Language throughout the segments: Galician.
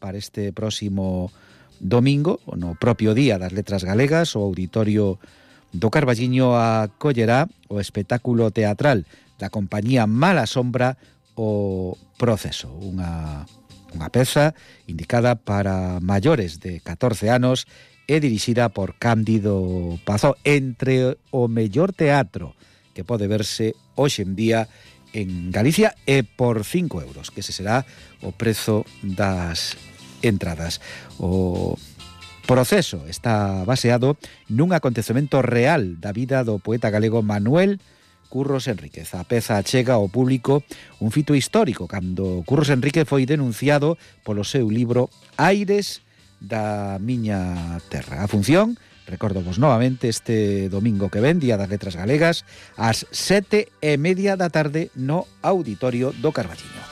para este próximo domingo, no propio Día das Letras Galegas, o Auditorio do Carballiño acollerá o espectáculo teatral da compañía Mala Sombra, o Proceso, unha peza indicada para maiores de 14 anos e dirixida por Cándido Pazó, entre o mellor teatro que pode verse hoxe en día en Galicia, e por 5 euros, que ese será o prezo das entradas. O Proceso está baseado nun acontecemento real da vida do poeta galego Manuel Curros Enríquez. A peza chega ao público un fito histórico cando Curros Enríquez foi denunciado polo seu libro Aires da miña terra. A función, recordamos novamente, este domingo que ven, Día das Letras Galegas, ás 7:30 da tarde no Auditorio do Carballiño.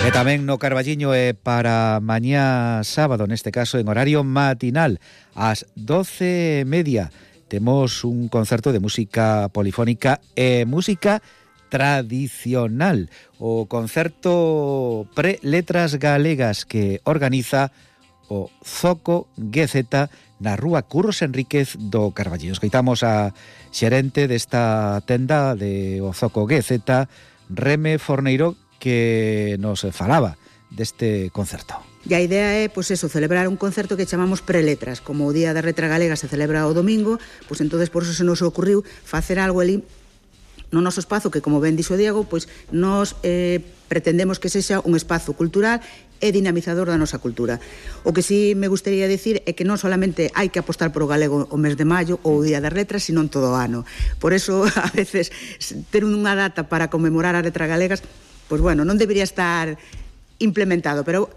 E tamén no Carballiño e para mañá sábado, neste caso en horario matinal, ás 12:30, temos un concerto de música polifónica e música tradicional, o concerto Pre-Letras Galegas que organiza o Zoco GZ na rúa Curros Enríquez do Carballiño. Escoitamos a xerente desta tenda de o Zoco GZ, Reme Forneiro, que nos falaba deste concerto. E a idea é, pois eso, celebrar un concerto que chamamos Preletras. Como o Día da Letra Galega se celebra o domingo, pois entonces por eso se nos ocurriu facer algo ali no noso espazo, que como ben dixo Diego, pois nos pretendemos que sexa un espazo cultural e dinamizador da nosa cultura. O que sí me gustaría dicir é que non solamente hai que apostar por o galego o mes de maio ou o Día das Letras, sino en todo o ano. Por eso, a veces, ter unha data para conmemorar as letras galegas, pois bueno, non debería estar implementado, pero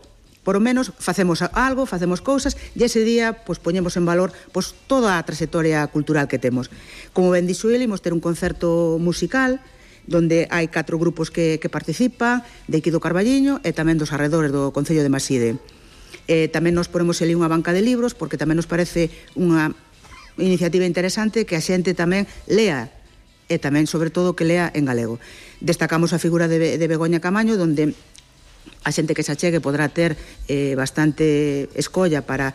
por o menos facemos algo, facemos cousas, e ese día pois poñemos en valor pois toda a trayectoria cultural que temos. Como ben dixo ele, imos ter un concerto musical donde hai 4 grupos que participan, de aquí do Carballiño e tamén dos arredores do Concello de Maside. Tamén nos ponemos ali unha banca de libros, porque tamén nos parece unha iniciativa interesante que a xente tamén lea, e tamén, sobre todo, que lea en galego. Destacamos a figura de Begoña Camaño, donde a xente que se achegue podrá ter bastante escolla para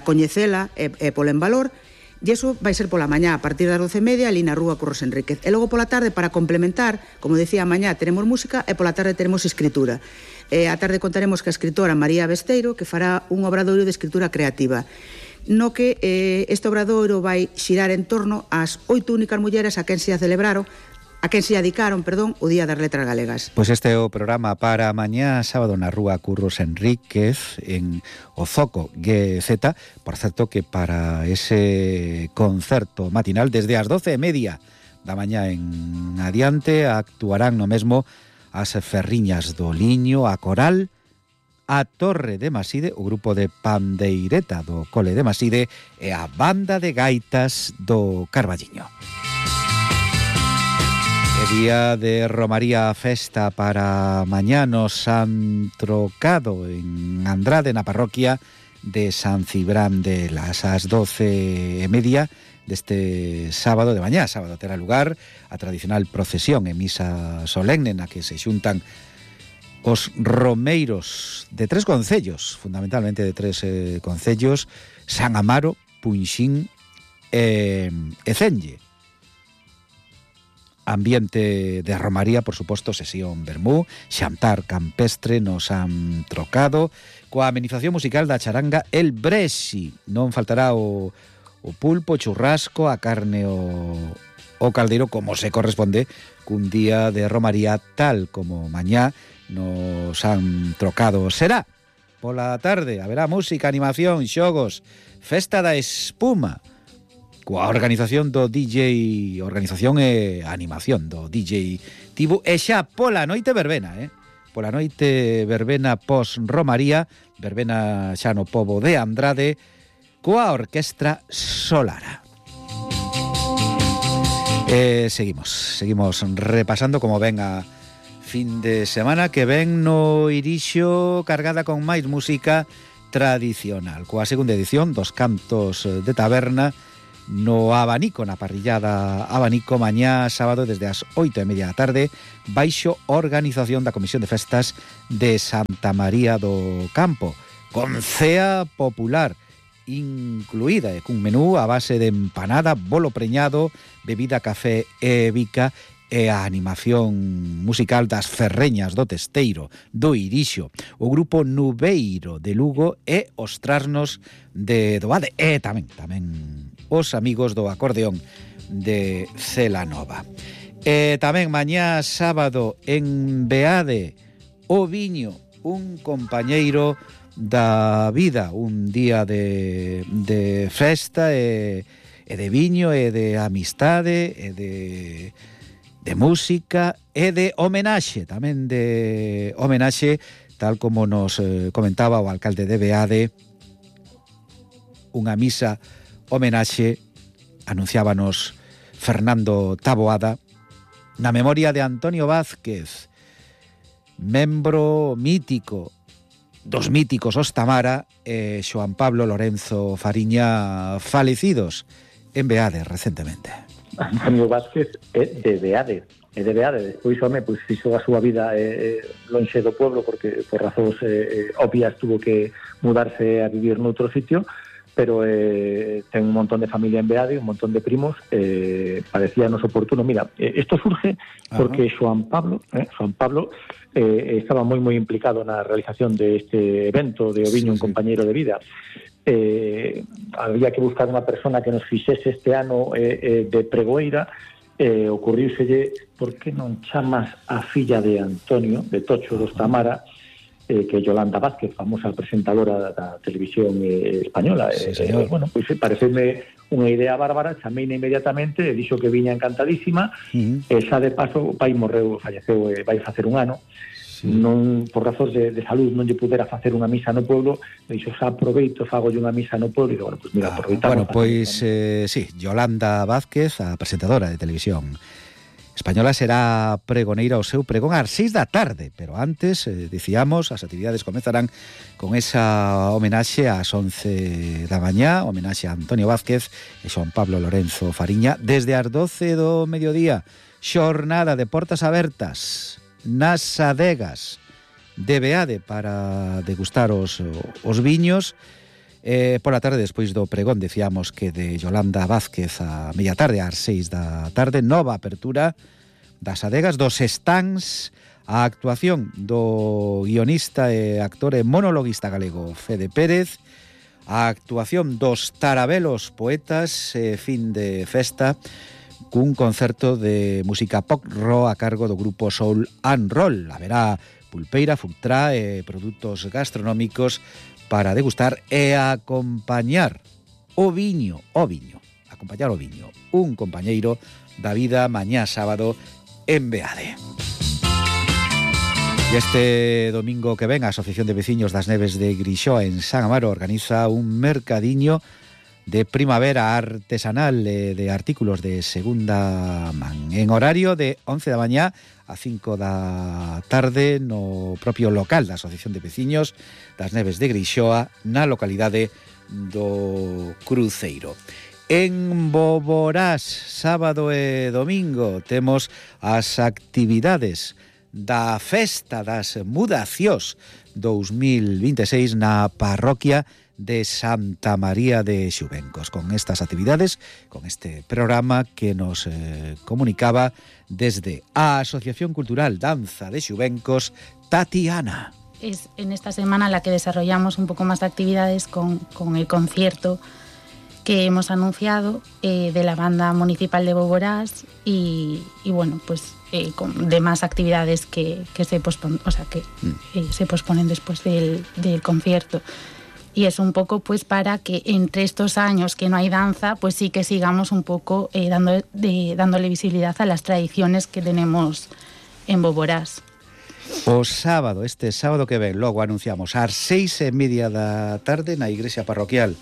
coñecela e pola en valor, e iso vai ser pola mañá a partir das 12:30 ali na rúa Curros Enríquez. E logo pola tarde, para complementar, como decía, a mañá teremos música e pola tarde teremos escritura. A tarde contaremos que a escritora María Besteiro, que fará un obradoiro de escritura creativa, no que este obradoiro vai xirar en torno ás 8 únicas mulleres a quen se dedicaron o Día das Letras Galegas. Pois este é o programa para mañá sábado na rúa Curros Enríquez en o Zoco GZ. Por certo que para ese concerto matinal desde as 12:30 da mañá en adiante actuarán no mesmo as Ferriñas do Liño, a Coral, a Torre de Maside, o grupo de pandeireta do Cole de Maside e a Banda de Gaitas do Carballiño. Día de romaría festa para mañá no San Trocado en Andrade, na parroquia de San Cibrán de las ás 12:30 deste sábado de mañá. Sábado terá lugar a tradicional procesión e misa solemne na que se xuntan os romeiros de 3 concellos, fundamentalmente de 3 concellos: San Amaro, Punxín e Cenge. Ambiente de romaría, por suposto, sesión vermú, xantar campestre no San Trocado, coa amenización musical da charanga El Brexi. Non faltará o pulpo, churrasco, a carne o caldeiro, como se corresponde cun día de romaría tal como mañá no San Trocado. Será pola tarde, haberá música, animación, xogos, festa da espuma, coa organización do DJ, organización e animación do DJ Tibu, e xa pola noite verbena, pola noite verbena pos-romaría, verbena xa no pobo de Andrade, coa Orquestra Solara. Seguimos repasando como ven a fin de semana, que ven no Irixo cargada con máis música tradicional, coa segunda edición dos Cantos de Taberna, no abanico, na parrillada abanico, mañá sábado desde as 8:30 da tarde, baixo organización da Comisión de Festas de Santa María do Campo, con cea popular incluída, e cun menú a base de empanada, bolo preñado, bebida, café e bica, e a animación musical das Ferreñas do Testeiro, do Irixo, o grupo Nubeiro de Lugo e os Trasnos de Doade, e tamén os amigos do acordeón de Celanova. E tamén mañá sábado en Beade, o Viño, un compañeiro da vida, un día de festa e de viño e de amistade e de música e de homenaxe, tamén de homenaxe, tal como nos comentaba o alcalde de Beade, unha misa homenaxe, anunciábanos Fernando Taboada, na memoria de Antonio Vázquez, membro mítico dos míticos Ostamara, e Xoán Pablo Lorenzo Fariña, falecidos en Beade recentemente. Antonio Vázquez é de Beade, despois home, pois fixo a súa vida lonxe do pueblo porque por razóns obvias tuvo que mudarse a vivir noutro sitio, pero ten un montón de familia en Beade, un montón de primos, parecíanos oportuno. Mira, isto surge porque Xoán Pablo estaba moi implicado na realización deste evento de Oviño, un compañeiro de vida. Había que buscar unha persona que nos fixese este ano de pregoeira, ocurríuselle, por que non chamas a filla de Antonio, de Tocho dos Tamara, que é Yolanda Vázquez, famosa presentadora da televisión española. Sí, bueno, pois pareceme unha idea bárbara, chameina inmediatamente, e dixo que viña encantadísima, e xa de paso o pai falleceu, vai facer un ano. Non, por razóns de salud non lle pudera facer unha misa no pueblo, dixo, xa aproveito, fagolle unha misa no pueblo, e bueno, pois mira, aproveitamos. Bueno, pois, sí, Yolanda Vázquez, a presentadora de televisión española, será pregoneira o seu pregón ás 6 da tarde, pero antes, dicíamos, as actividades comezarán con esa homenaxe ás 11 da mañá, homenaxe a Antonio Vázquez e Xoán Pablo Lorenzo Fariña, desde as 12 do mediodía, xornada de portas abertas nas adegas de Beade para degustar os viños. Pola tarde, despois do pregón, decíamos que de Yolanda Vázquez a media tarde, ás 6 da tarde, nova apertura das adegas, dos stands, a actuación do guionista e actor e monologuista galego Fede Pérez, a actuación dos Tarabelos Poetas, fin de festa, cun concerto de música pop rock a cargo do grupo Soul and Roll. Haberá pulpeira, futrá e produtos gastronómicos para degustar e acompañar o viño, un compañeiro da vida mañá sábado en Beade. E este domingo que ven, a Asociación de Veciños das Neves de Grixoa en San Amaro organiza un mercadiño de primavera artesanal de artículos de segunda man, en horario de 11 da mañá a 5 da tarde no propio local da Asociación de Veciños das Neves de Grixoa, na localidade do Cruceiro. En Boborás, sábado e domingo, temos as actividades da Festa das Mudacións 2026 na parroquia de Santa María de Xubencos. Con estas actividades, con este programa que nos comunicaba desde a Asociación Cultural Danza de Xubencos, Tatiana. Es en esta semana la que desarrollamos un poco más de actividades con el concierto que hemos anunciado de la banda municipal de Boborás y bueno, pues con demás actividades que se posponen, se posponen después del concierto. Y es un poco pues para que entre estos años que no hay danza, pues sí que sigamos un poco dándole visibilidad a las tradiciones que tenemos en Boborás. O sábado, este sábado que ven, logo anunciamos ás 6:30 da tarde na igrexa parroquial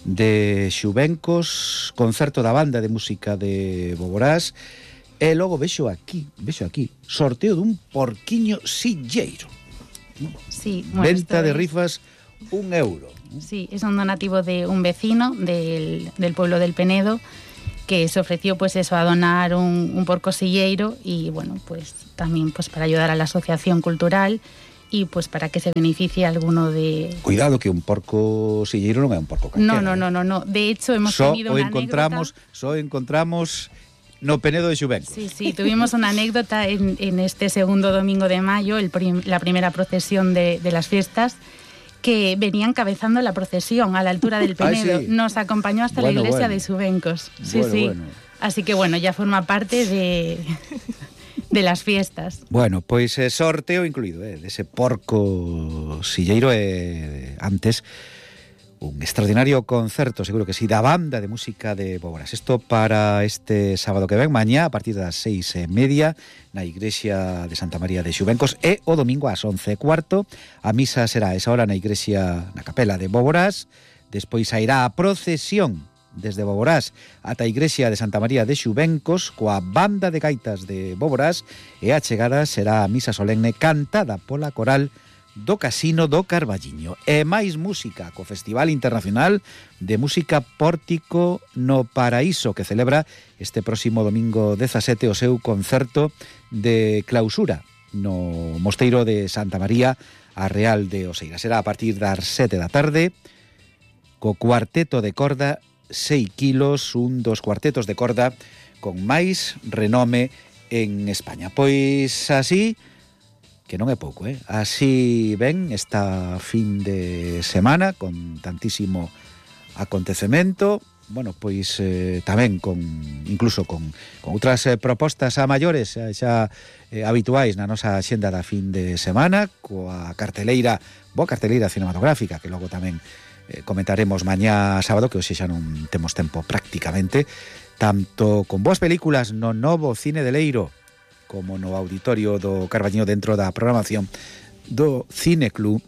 de Xubencos, concerto da banda de música de Boborás, e logo vexo aquí, sorteo dun porquiño silleiro. Sí, bueno, venta de rifas, €1. Sí, es un donativo de un vecino del pueblo del Penedo, que se ofreció pues eso, a donar un porco silleiro y bueno, pues también pues para ayudar a la asociación cultural y pues para que se beneficie alguno de... Cuidado que un porco silleiro non é un porco calquera. No. De hecho, hemos tenido una anécdota... encontramos no Penedo de Xubencos. Sí, tuvimos una anécdota en este segundo domingo de mayo, la primera procesión de las fiestas, que venían cabezando la procesión a la altura del Penedo. Sí. Nos acompañó hasta la iglesia de Xubencos. Sí. Así que bueno, ya forma parte de las fiestas. Bueno, pois sorteo incluído, dese porco silleiro antes un extraordinario concerto, seguro que sí, da banda de música de Boborás. Isto para este sábado que ven, mañá, a partir das 6:30, na igrexa de Santa María de Xubencos, e o domingo ás 11:15. A misa será a esa hora na igrexa, na capela de Boborás. Despois sairá a procesión desde Boborás ata a igrexa de Santa María de Xubencos coa banda de gaitas de Boborás, e a chegada será a misa solemne cantada pola coral do Casino do Carballiño. E máis música co Festival Internacional de Música Pórtico no Paraíso, que celebra este próximo domingo 17 o seu concerto de clausura no Mosteiro de Santa María a Real de Oseira. Será a partir das 7 da tarde co cuarteto de corda 6 kilos, un dos cuartetos de corda con máis renome en España. Pois así, que non é pouco, así ven esta fin de semana con tantísimo acontecemento. Bueno, pois tamén incluso con outras propostas a maiores xa habituais na nosa xenda da fin de semana, coa boa carteleira cinematográfica, que logo tamén comentaremos mañá sábado, que hoxe xa non temos tempo prácticamente, tanto con boas películas no novo Cine de Leiro como no auditorio do Carballiño dentro da programación do Cineclub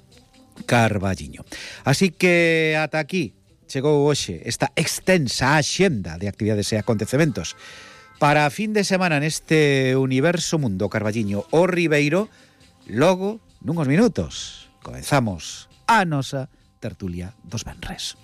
Carballiño. Así que ata aquí chegou hoxe esta extensa axenda de actividades e acontecementos para a fin de semana neste universo mundo Carballiño o Ribeiro. Logo, nunhos minutos, comenzamos a nosa tertulia dos venres.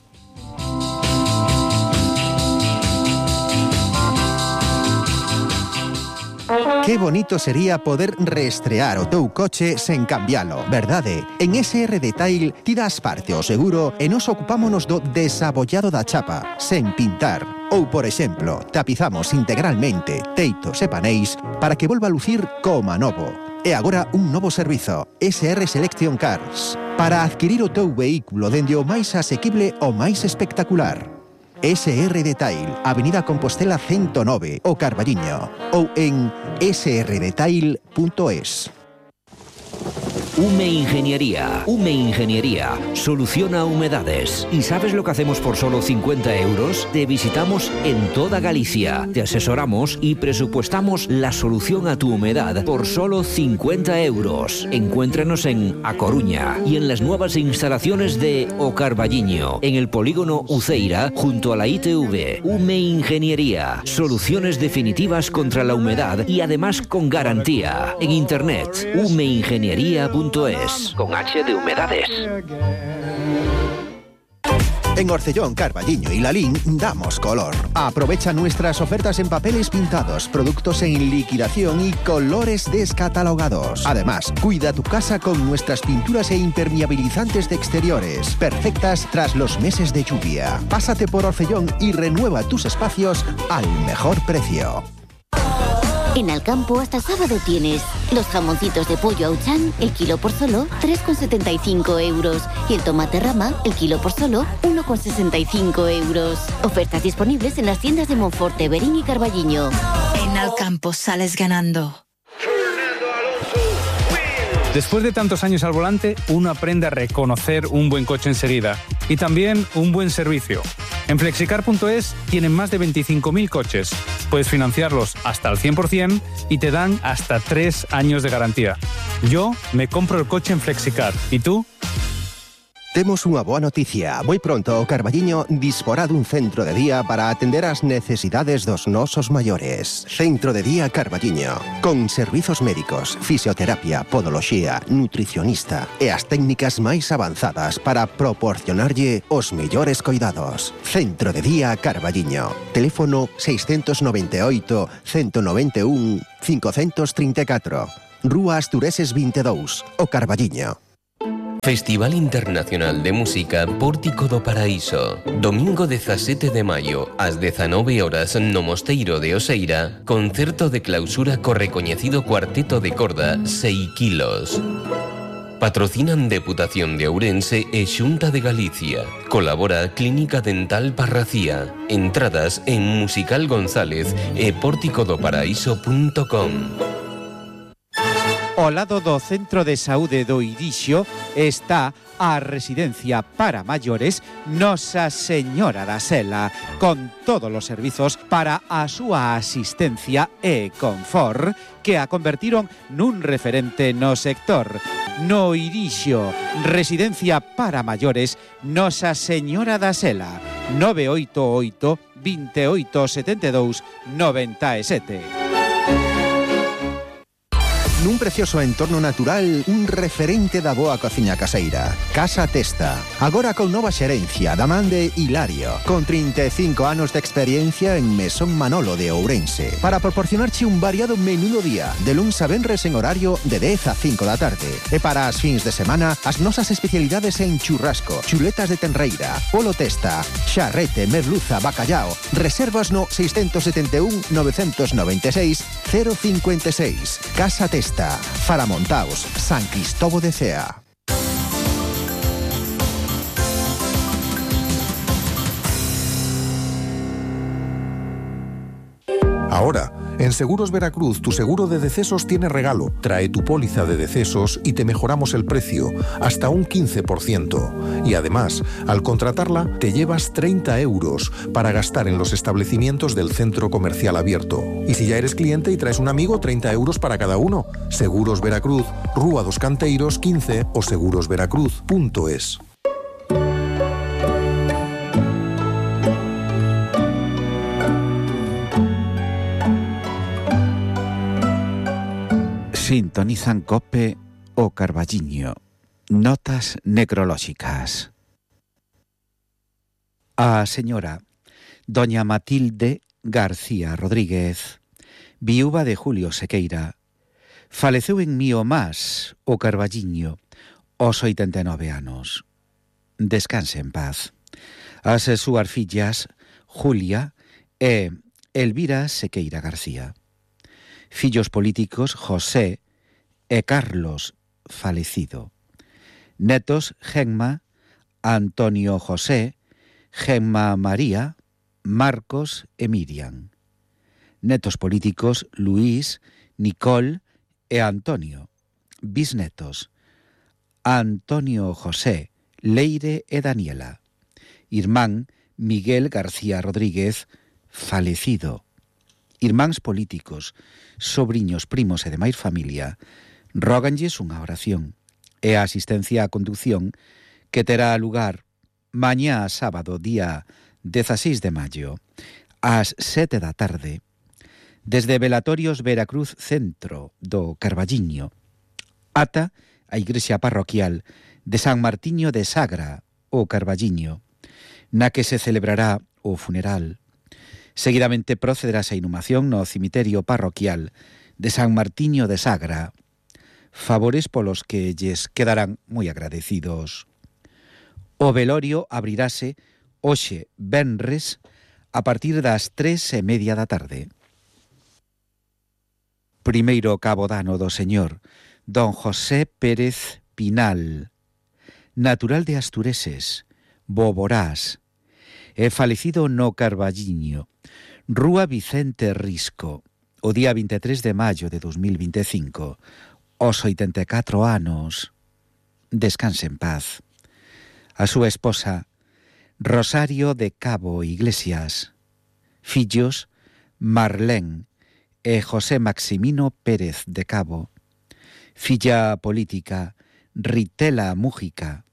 Qué bonito sería poder reestrear o teu coche sen cambialo, verdade? En SR Detail ti das parte ao seguro e nos ocupámonos do desabollado da chapa, sen pintar. Ou, por exemplo, tapizamos integralmente teitos e paneis para que volva a lucir coma novo. E agora un novo servizo, SR Selection Cars, para adquirir o teu vehículo dende o máis asequible ao máis espectacular. SR Detail, Avenida Compostela 109, o Carballiño, ou en srdetail.es. Ume Ingeniería soluciona humedades. ¿Y sabes lo que hacemos por solo 50 euros? Te visitamos en toda Galicia, te asesoramos y presupuestamos la solución a tu humedad por solo 50 euros. Encuéntranos en A Coruña y en las nuevas instalaciones de O Carballiño, en el polígono Uceira, junto a la ITV. Ume Ingeniería, soluciones definitivas contra la humedad y además con garantía. En internet, umeingeniería.es. Con H de humedades. En Orcellón, Carballiño y Lalín damos color. Aprovecha nuestras ofertas en papeles pintados, productos en liquidación y colores descatalogados. Además, cuida tu casa con nuestras pinturas e impermeabilizantes de exteriores, perfectas tras los meses de lluvia. Pásate por Orcellón y renueva tus espacios al mejor precio. En Alcampo hasta sábado tienes los jamoncitos de pollo Auchan, el kilo por solo 3,75 euros. Y el tomate rama, el kilo por solo 1,65 euros. Ofertas disponibles en las tiendas de Monforte, Berín y Carballiño. En Alcampo sales ganando. Después de tantos años al volante, uno aprende a reconocer un buen coche enseguida y también un buen servicio. En Flexicar.es tienen más de 25.000 coches. Puedes financiarlos hasta el 100% y te dan hasta 3 años de garantía. Yo me compro el coche en Flexicar. ¿Y tú? Temos unha boa noticia. Moi pronto o Carballiño disporá dun centro de día para atender as necesidades dos nosos maiores. Centro de día Carballiño, con servizos médicos, fisioterapia, podoloxía, nutricionista e as técnicas máis avanzadas para proporcionarlle os mellores coidados. Centro de día Carballiño. Teléfono 698 191 534. Rúa Astureses 22, o Carballiño. Festival Internacional de Música Pórtico do Paraíso. Domingo 17 de maio, ás 19 horas no Mosteiro de Oseira, concerto de clausura co recoñecido cuarteto de corda 6 kilos. Patrocinan Deputación de Ourense e Xunta de Galicia. Colabora Clínica Dental Parracía. Entradas en Musical González e porticodoparaíso.com. Ao lado do Centro de Saúde do Irixo está a residencia para maiores Nosa Señora da Sela, con todos os servizos para a súa asistencia e confort, que a convertiron nun referente no sector. No Irixo, residencia para maiores Nosa Señora da Sela, 988 28 72 97. Nun precioso entorno natural, un referente da boa cociña caseira. Casa Testa. Agora con nova xerencia da man de Hilario, con 35 anos de experiencia en Mesón Manolo de Ourense, para proporcionarche un variado menú do día, de luns a venres en horario de 10 a 5 da tarde. E para as fins de semana, as nosas especialidades en churrasco, chuletas de tenreira, polo testa, xarrete, merluza, bacallao. Reservas no 671 996 056. Casa Testa. Faramontaos, San Cristóbal de Cea. Ahora, en Seguros Veracruz, tu seguro de decesos tiene regalo. Trae tu póliza de decesos y te mejoramos el precio, hasta un 15%. Y además, al contratarla, te llevas 30 euros para gastar en los establecimientos del centro comercial abierto. Y si ya eres cliente y traes un amigo, 30 euros para cada uno. Seguros Veracruz, Rúa dos Canteiros 15 o segurosveracruz.es. Sintonizan COPE o Carballiño. Notas necrolóxicas. A señora doña Matilde García Rodríguez, viúva de Julio Sequeira, faleceu en Miomás, o Carballiño, aos 89 anos. Descanse en paz. As súas fillas, Julia e Elvira Sequeira García. Fillos políticos, José e Carlos, falecido. Netos, Gemma, Antonio José, Gemma María, Marcos e Miriam. Netos políticos, Luís, Nicole e Antonio. Bisnetos, Antonio José, Leire e Daniela. Irmán, Miguel García Rodríguez, falecido. Irmáns políticos, sobriños, primos e demais familia, róganlles unha oración e a asistencia á conducción que terá lugar mañá sábado, día 16 de maio, ás 7 da tarde, desde Velatorios Veracruz Centro do Carballiño ata a igrexa parroquial de San Martiño de Sagra, o Carballiño, na que se celebrará o funeral. Seguidamente procederase a inhumación no cemiterio parroquial de San Martiño de Sagra, favores polos que lles quedarán moi agradecidos. O velorio abrirase hoxe venres a partir das 3:30 da tarde. Primeiro cabodano do señor don José Pérez Pinal, natural de Astureses, Boborás, e falecido no Carballiño, Rúa Vicente Risco, o día 23 de maio de 2025, aos 84 anos. Descanse en paz. A súa esposa, Rosario de Cabo Iglesias. Fillos, Marlén e José Maximino Pérez de Cabo. Filla política, Ritela Mújica.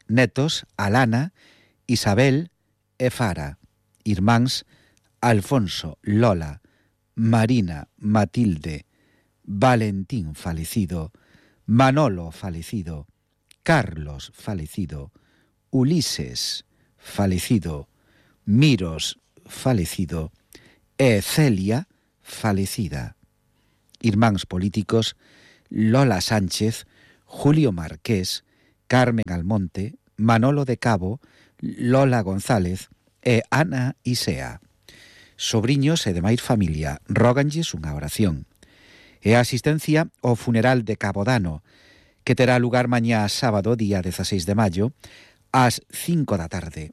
netos Alana, Isabel e Fara, irmáns Alfonso, Lola, Marina, Matilde, Valentín falecido, Manolo falecido, Carlos falecido, Ulises falecido, Miros falecido e Celia falecida. Irmáns políticos Lola Sánchez, Julio Marqués, Carmen Almonte, Manolo de Cabo, Lola González e Ana Isea. Sobriños e demais familia, róganlles unha oración. E a asistencia ao funeral de Cabodano, que terá lugar mañá sábado, día 16 de maio, ás 5 da tarde,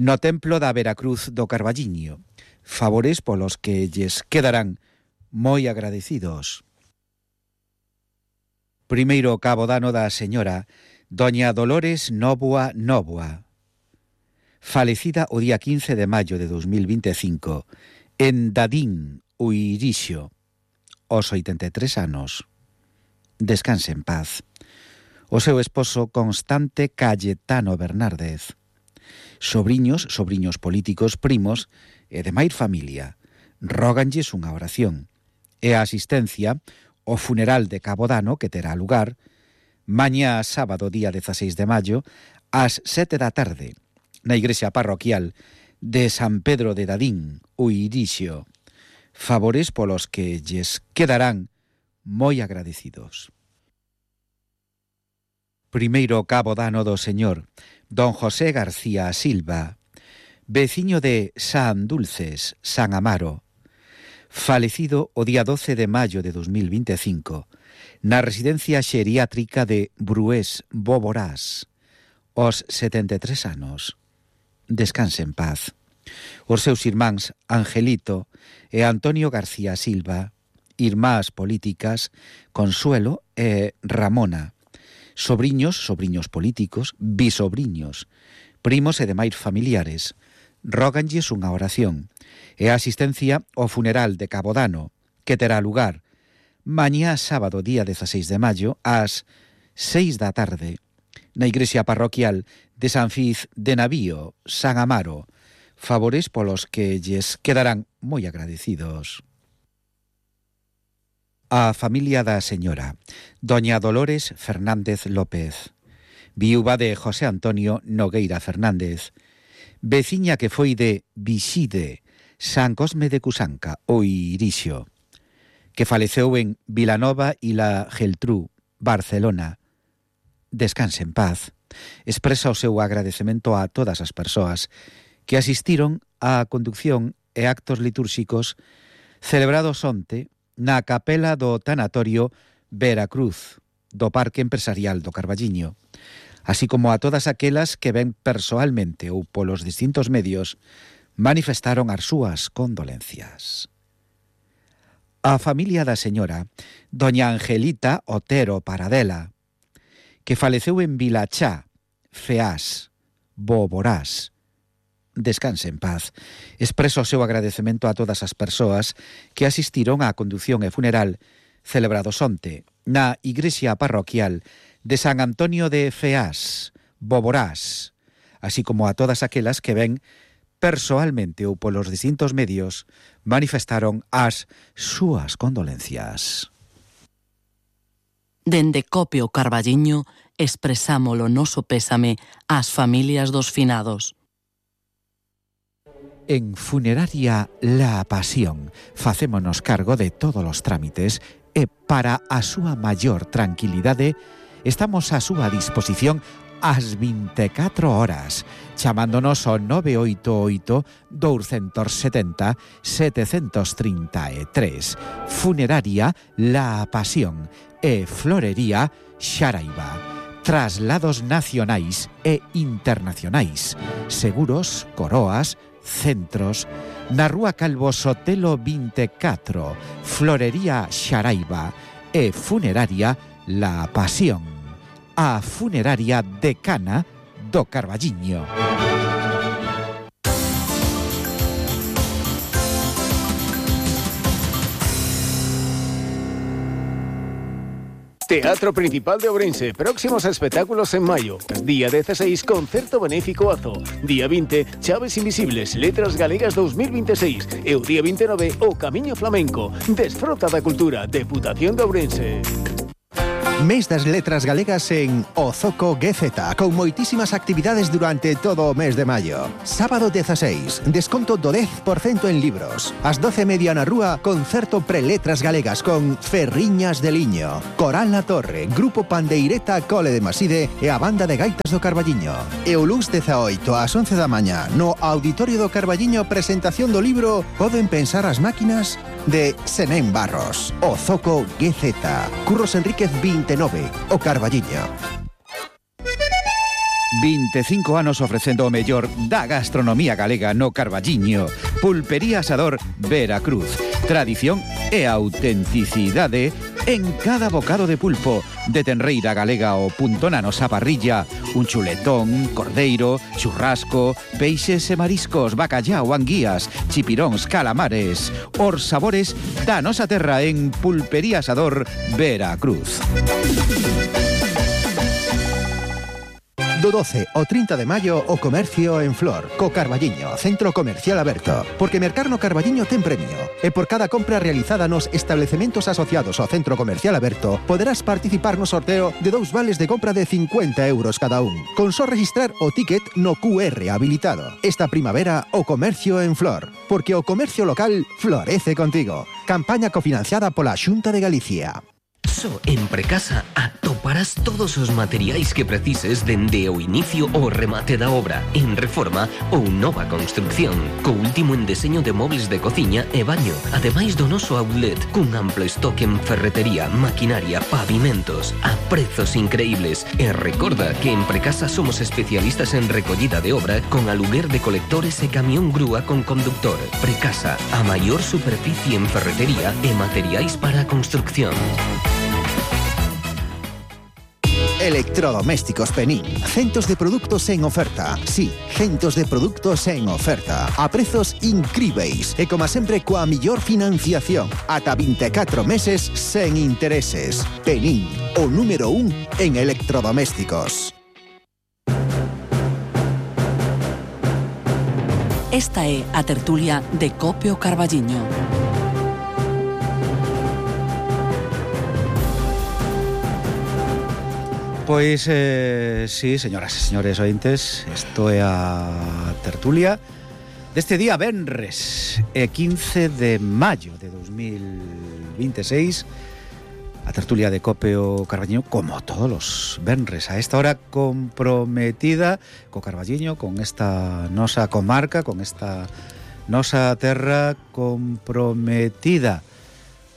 no Templo da Veracruz do Carballiño, favores polos que lles quedarán moi agradecidos. Primeiro Cabodano da señora Doña Dolores Nóvoa Nóvoa, falecida o día 15 de maio de 2025 en Dadín, Uirixo, aos 83 anos. Descanse en paz. O seu esposo Constante Cayetano Bernárdez. Sobriños políticos, primos e demais familia, róganlles unha oración. E a asistencia ao funeral de Cabodano, que terá lugar mañá sábado, día 16 de maio, ás 7 da tarde, na igrexa parroquial de San Pedro de Dadín, Uirixo, favores polos que lles quedarán moi agradecidos. Primeiro Cabodano do señor Don José García Silva, veciño de San Dulces, San Amaro, falecido o día 12 de maio de 2025, na residencia xeriátrica de Brués, Boborás, aos 73 anos. Descanse en paz. Os seus irmáns Angelito e Antonio García Silva, irmás políticas Consuelo e Ramona, sobriños políticos, bisobriños, primos e demais familiares, róganlles unha oración e a asistencia ao funeral de Cabodano, que terá lugar mañá sábado, día 16 de maio, ás 6 da tarde, na igrexa parroquial de San Fiz de Navío, San Amaro, favores polos que lles quedarán moi agradecidos. A familia da señora Doña Dolores Fernández López, viúva de José Antonio Nogueira Fernández, veciña que foi de Vixide, San Cosme de Cusanca, Uirixo, que faleceu en Vilanova e la Geltrú, Barcelona. Descanse en paz. Expresa o seu agradecemento a todas as persoas que asistiron á conducción e actos litúrxicos celebrados onte na capela do tanatorio Veracruz do Parque Empresarial do Carballiño, así como a todas aquelas que ven persoalmente ou polos distintos medios manifestaron as súas condolencias. A familia da señora Doña Angelita Otero Paradela, que faleceu en Vilachá, Feás, Boborás. Descanse en paz. Expreso o seu agradecemento a todas as persoas que asistiron á condución e funeral celebrados onte na igrexa parroquial de San Antonio de Feás, Boborás, así como a todas aquelas que ven persoalmente ou polos distintos medios manifestaron as súas condolencias. Dende Cope o Carballiño expresamos o noso pésame ás familias dos finados. En Funeraria La Pasión facémonos cargo de todos os trámites e para a súa maior tranquilidade estamos a súa disposición ás 24 horas, chamándonos ao 988-270-733. Funeraria La Pasión e Florería Xaraiba. Traslados nacionais e internacionais. Seguros, coroas, centros. Na Rúa Calvo Sotelo 24, Florería Xaraiba e Funeraria La Pasión. A funeraria decana do Carballiño. Teatro Principal de Ourense, próximos espectáculos en maio. Día 16, concerto benéfico Azo. Día 20, Chaves Invisibles, Letras Galegas 2026. E o día 29, o Camiño Flamenco. Desfrota da cultura, Deputación de Ourense. Mes das letras galegas en Ozoco GZ, con moitísimas actividades durante todo o mes de maio. Sábado 16, desconto do 10% en libros. Ás 12:30 na rúa, concerto Preletras Galegas con Ferriñas de Liño, Coral La Torre, Grupo Pandeireta Cole de Maside e a Banda de Gaitas do Carballiño. E o luns 18 ás 11 da mañá, no Auditorio do Carballiño, presentación do libro Poden pensar as máquinas, de Senén Barros. Ozoco GZ. Curros Enríquez 29, o Carballiño. 25 anos ofrecendo o mellor da gastronomía galega no Carballiño. Pulpería Asador Veracruz. Tradición e autenticidade en cada bocado de pulpo. De tenreira galega ao punto na nosa parrilla. Un chuletón, cordeiro, churrasco, peixes e mariscos, bacallao, anguías, chipiróns, calamares. Os sabores da nosa terra en Pulpería Asador Veracruz. Do 12 ao 30 de maio, o comercio en Flor, co Carballiño, centro comercial aberto. Porque mercar no Carballiño ten premio. E por cada compra realizada nos establecementos asociados ao centro comercial aberto, poderás participar no sorteo de 2 vales de compra de 50 euros cada un. Con só registrar o ticket no QR habilitado. Esta primavera, o comercio en Flor. Porque o comercio local florece contigo. Campaña cofinanciada pola Xunta de Galicia. Só en Precasa atoparás todos os materiais que precises dende o inicio ao remate da obra, en reforma ou nova construcción, co último en deseño de mobles de cociña e baño, ademais do noso outlet, cun amplo estoque en ferretería, maquinaria, pavimentos, a prezos increíbles. E recorda que en Precasa somos especialistas en recollida de obra con aluguer de colectores e camión grúa con conductor. Precasa, a maior superficie en ferretería e materiais para a construcción. Electrodomésticos Penín. Centos de produtos en oferta. Sí, centos de produtos en oferta. A prezos incríveis. E como sempre, coa millor financiación. Ata 24 meses sen intereses. Penín, o número 1 en electrodomésticos. Esta é a tertulia de Cope o Carballiño. Pois, sí, señoras e señores ointes, isto é a tertulia deste día venres, 15 de maio de 2026, a tertulia de Cope o Carballiño, como todos os venres, a esta hora comprometida co Carballiño, con esta nosa comarca, con esta nosa terra comprometida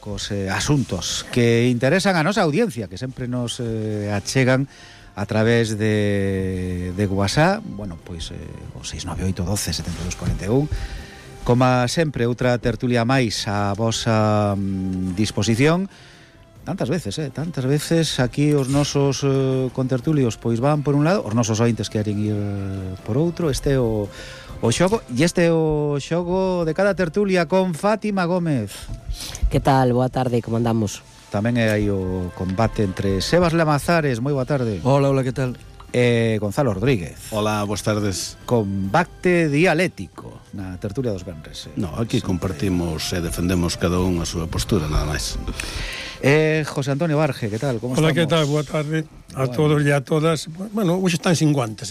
cos asuntos que interesan a nosa audiencia, que sempre nos achegan a través de WhatsApp, bueno, pois o 698 12 72 41. Como sempre, outra tertulia máis a vosa disposición. Tantas veces aquí os nosos contertulios pois van por un lado, os nosos ointes queren ir por outro. Este é o xogo, e este é o xogo de cada tertulia con Fátima Gómez. Que tal? Boa tarde, como andamos? Tamén é aí o combate entre Sebas Lamazares, moi boa tarde. Hola, que tal? Gonzalo Rodríguez. Hola, boas tardes. Combate dialéctico na tertulia dos venres. No, aquí compartimos e defendemos cada un a súa postura, nada máis. José Antonio Barge, que tal? Como Hola, estamos? que tal? Boa tarde a todos e a todas. Bueno, hoxe están sin guantes,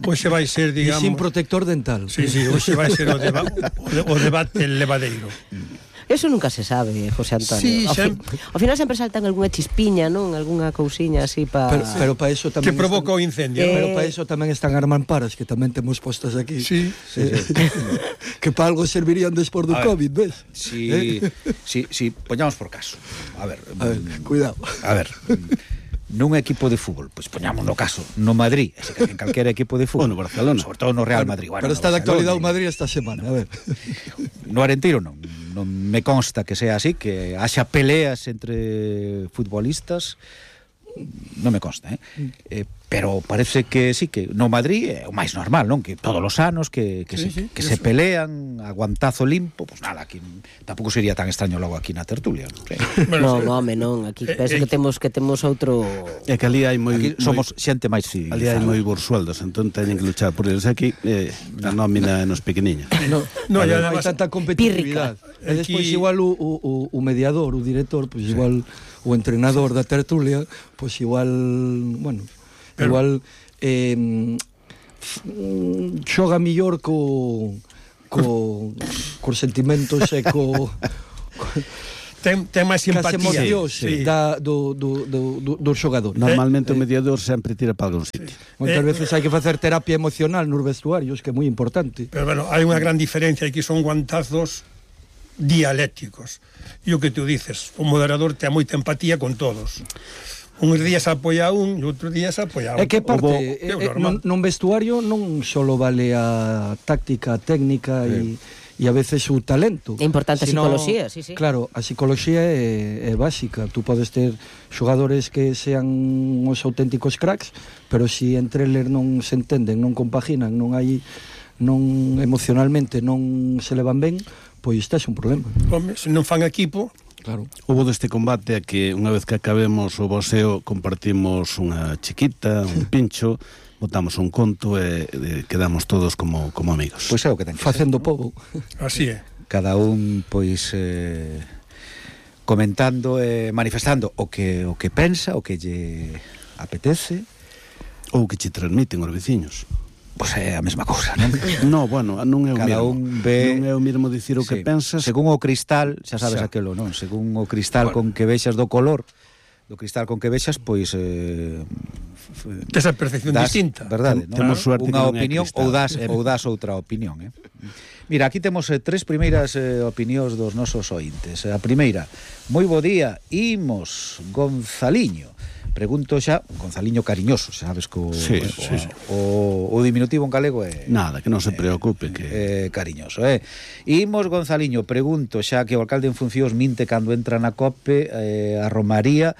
Hoxe vai ser, digamos... E sin protector dental. Sí, hoxe vai ser o debate levadeiro. Eso nunca se sabe, José Antonio. Sí, ao final sempre saltan algunha chispiña, non? Algunha cousiña así para... Pero para eso tamén... Que provoca o incendio. Pero para eso tamén están armamparas, que tamén temos postas aquí. Sí. Que para algo servirían despois do COVID, ves? Sí, poñamos por caso. A ver, cuidado. A ver, nun equipo de fútbol, pois poñamos no caso, no Madrid, en calquera equipo de fútbol, no Barcelona, sobre todo no Real Madrid. Pero está de actualidade o Madrid esta semana, a ver. No Arenteiro non me consta que sea así, que haxa peleas entre futbolistas non me consta, pero parece que sí, que no Madrid é o máis normal, non? Que todos os anos que se pelean a guantazo limpo, pois nada, aquí tampouco sería tan extraño logo aquí na tertulia. Non, home, non, aquí penso que temos outro... É que ali hai moi... Aquí somos xente máis civilizada. Ali hai moi bursueldos, entón teñen que luchar por eles. Aquí a nómina nos pequeniños. Non, hai tanta competitividade. E despois igual o mediador, o director, pois igual o entrenador da tertulia, pois igual, bueno, igual xoga millor cos sentimentos e ten máis simpatía do xogador. Normalmente o mediador sempre tira para algún sitio. Moitas veces hai que facer terapia emocional nos vestuarios, que é moi importante. Pero bueno, hai unha gran diferencia, aquí son guantazos dialécticos. E o que tú dices, o moderador ten moita empatía con todos. Uns días apoia un e outros días apoia un. É que parte, non vestuario non solo vale a táctica, a técnica e a veces o talento. É importante a psicología, sí. Claro, a psicología é básica. Tú podes ter xogadores que sean os auténticos cracks, pero se entre eles non se entenden, non compaginan, non emocionalmente non se levan ben, pois este é un problema. Home, se non fan equipo... Claro. Hubo deste combate a que unha vez que acabemos o boxeo compartimos unha chiquita, un pincho, botamos un conto e quedamos todos como amigos. Pois é o que ten que facendo pobo. Así é. Cada un pois comentando e manifestando o que pensa, o que lle apetece ou que che transmiten os veciños. Pois é a mesma cousa, non? No, bueno, non é o cada mesmo. Un ve... Non é o mesmo dicir o que pensas. Según o cristal, xa sabes aquelo, non? Según o cristal con que vexas do color, do cristal con que vexas, pois esa percepción distinta. Verdade, non? Temos suerte unha que non é opinión ou das outra opinión, Mira, aquí temos tres primeiras opinións dos nosos ointes. A primeira, moi bo día, imos Gonzaliño. Pregunto xa, Gonzaliño cariñoso, sabes que o diminutivo en galego é... Nada, que non se preocupe, que... cariñoso, Imos Gonzaliño, pregunto xa que o alcalde en funcións minte cando entra na COPE a Romaría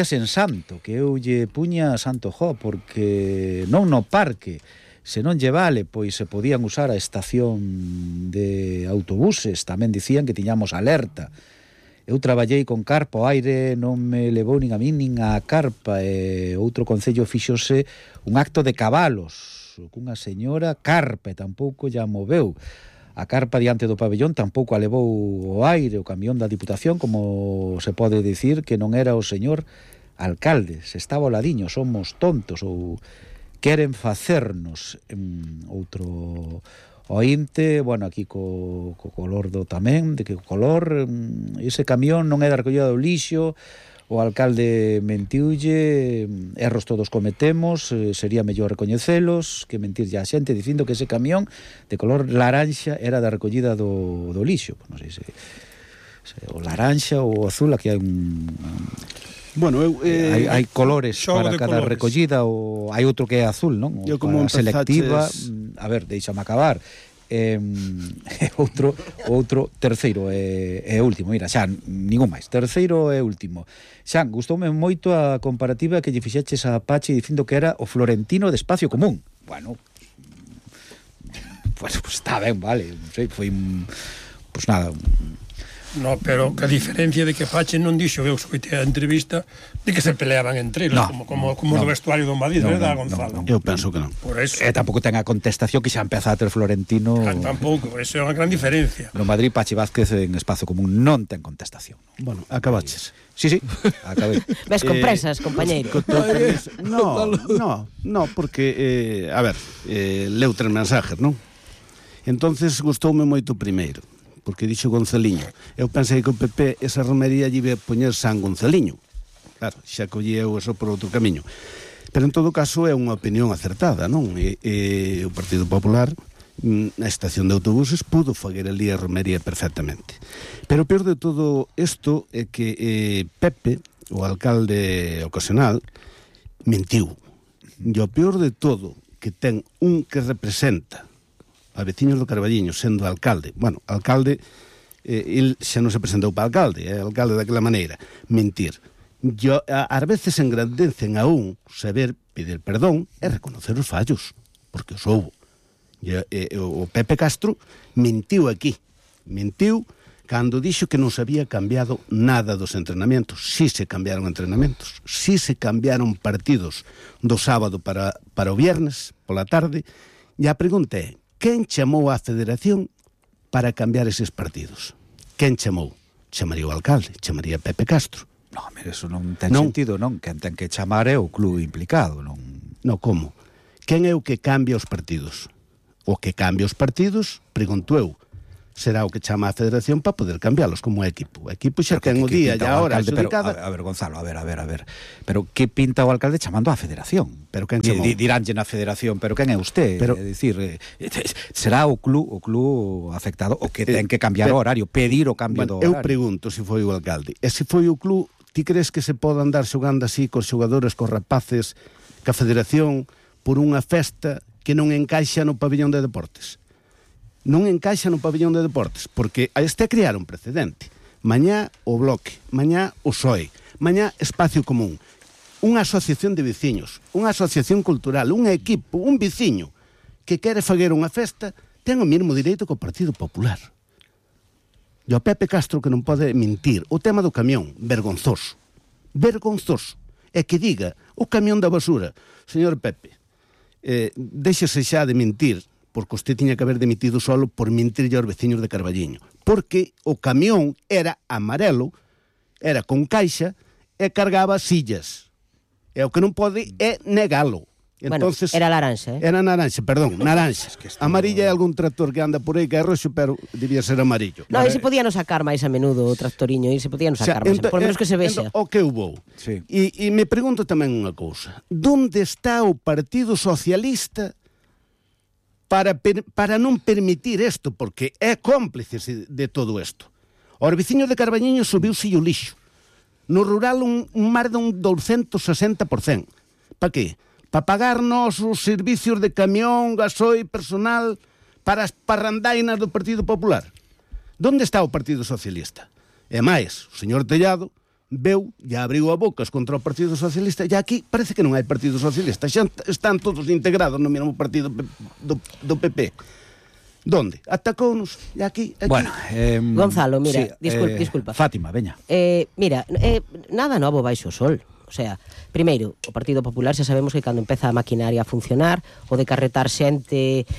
sen santo, que eu lle puña santo porque non no parque, se non lle vale, pois se podían usar a estación de autobuses, tamén dicían que tiñamos alerta. Eu traballei con carpa, o aire non me levou nin a min nin a carpa, e outro concello fíxose un acto de cabalos cunha señora carpa e tampouco lla moveu. A carpa diante do pabellón tampouco a levou o aire, o camión da Diputación, como se pode dicir que non era o señor alcalde, se estaba ao ladiño, somos tontos ou queren facernos. Outro ointe, bueno, aquí co color do tamén, de que o color, ese camión non é da recollida do lixo, o alcalde mentiulle, erros todos cometemos, sería mellor recoñecelos que mentirlle a xente dicindo que ese camión de color laranxa era da recollida do lixo. Non sei se o laranxa ou o azul, aquí hai un... Bueno, hai colores para cada colores. Recollida, ou hai outro que é azul, non? Eu como selectiva, a ver, deixame acabar. Outro terceiro e último, mira, xa, ningún máis. Terceiro e último. Xan, gustoume moito a comparativa que lle fixeches a Pachi dicindo que era o Florentino de Espacio Común. Bueno, pues está ben, vale, non sei, foi pues nada. No, pero que a diferencia de que Pache non dixo, eu escoitei a entrevista de que se peleaban entre eles, como do vestuario do Madrid, verdad, Gonzalo? Eu penso que non. Por eso. Tampouco ten a contestación que xa empeza a ter Florentino. Tampouco, eso é unha gran diferencia. No Madrid, Pachi Vázquez en Espazo Común non ten contestación. Bueno, acabaches. Sí, acabei. Ves con presas, compañeiro. No, porque, a ver, leu 3 mensajes, non? Entonces gustoume moito primeiro, porque dixo Gonzaliño. Eu pensei que o PP esa romería lle iba a poñer San Gonzaliño. Claro, xa colleu eso por outro camiño. Pero en todo caso é unha opinión acertada, non? E o Partido Popular na estación de autobuses pudo faguer ali a romería perfectamente. Pero o peor de todo isto é que Pepe, o alcalde ocasional, mentiu. E o peor de todo que ten un que representa a veciños do Carballiño, sendo alcalde. Bueno, alcalde, el xa non se presentou para alcalde, é alcalde daquela maneira. Mentir. ás veces engrandecen a un saber pedir perdón e reconocer os fallos, porque os houbo. O Pepe Castro mentiu aquí, mentiu cando dixo que non se había cambiado nada dos entrenamentos. Si se cambiaron entrenamentos, si se cambiaron partidos do sábado para o viernes pola tarde, e a pregunta é, quen chamou á Federación para cambiar eses partidos? Quen chamou? Chamaría o alcalde, chamaría Pepe Castro. No, mire, eso non ten sentido, non? Quen ten que chamar é o club implicado, non? No, como? Quen é o que cambia os partidos? O que cambia os partidos, pregunto eu, será o que chama a Federación para poder cambialos como equipo. O equipo xa ten o día e a hora adjudicada. A ver, Gonzalo, a ver. Pero que pinta o alcalde chamando á Federación? Pero quen chamou? Diránlle na Federación, pero quen é usted? É dicir, será o club afectado o que ten que cambiar o horario, pedir o cambio do horario. Eu pregunto se foi o alcalde. E se foi o club, ti crees que se pode andar xogando así cos xogadores, cos rapaces, ca Federación, por unha festa que non encaixa no pabillón de deportes? Non encaixa no pabillón de deportes, porque este é crear un precedente. Mañá o Bloque, mañá o PSOE, mañá Espacio Común, unha asociación de veciños, unha asociación cultural, un equipo, un veciño que quere faguer unha festa, ten o mesmo direito que o Partido Popular. E o Pepe Castro que non pode mentir. O tema do camión, vergonzoso. Vergonzoso. É que diga, o camión da basura, señor Pepe, déxese xa de mentir, porque usted tiña que haber demitido solo por mentirlle aos veciños de Carballiño. Porque o camión era amarelo, era con caixa e cargaba sillas. E o que non pode é negalo. Entonces, bueno, era laranxa, Era naranxa, perdón, naranxa. Amarilla é algún tractor que anda por aí que é roxo, pero debía ser amarillo. No, e se podían sacar máis a menudo o tractoriño, e se podían sacar máis, por menos que se vexa. O que houve. Sí. E me pregunto tamén unha cousa. Donde está o Partido Socialista para non permitir isto, porque é cómplice de todo isto? Os veciños de Carballiño subiuse o lixo. No rural un mar de un 260%. Para que? Para pagarnos os servicios de camión, gasoil, personal, para as parrandainas do Partido Popular. Donde está o Partido Socialista? E máis, o señor Tellado veu e abriu a bocas contra o Partido Socialista, e aquí parece que non hai Partido Socialista, xa están todos integrados no mesmo partido do PP. Donde? Atacounos, e aquí... Bueno, Gonzalo, mira, sí, disculpa. Fátima, veña. Mira, nada novo baixo o sol. O sea, primeiro, o Partido Popular xa sabemos que cando empeza a maquinaria a funcionar, o de carretar xente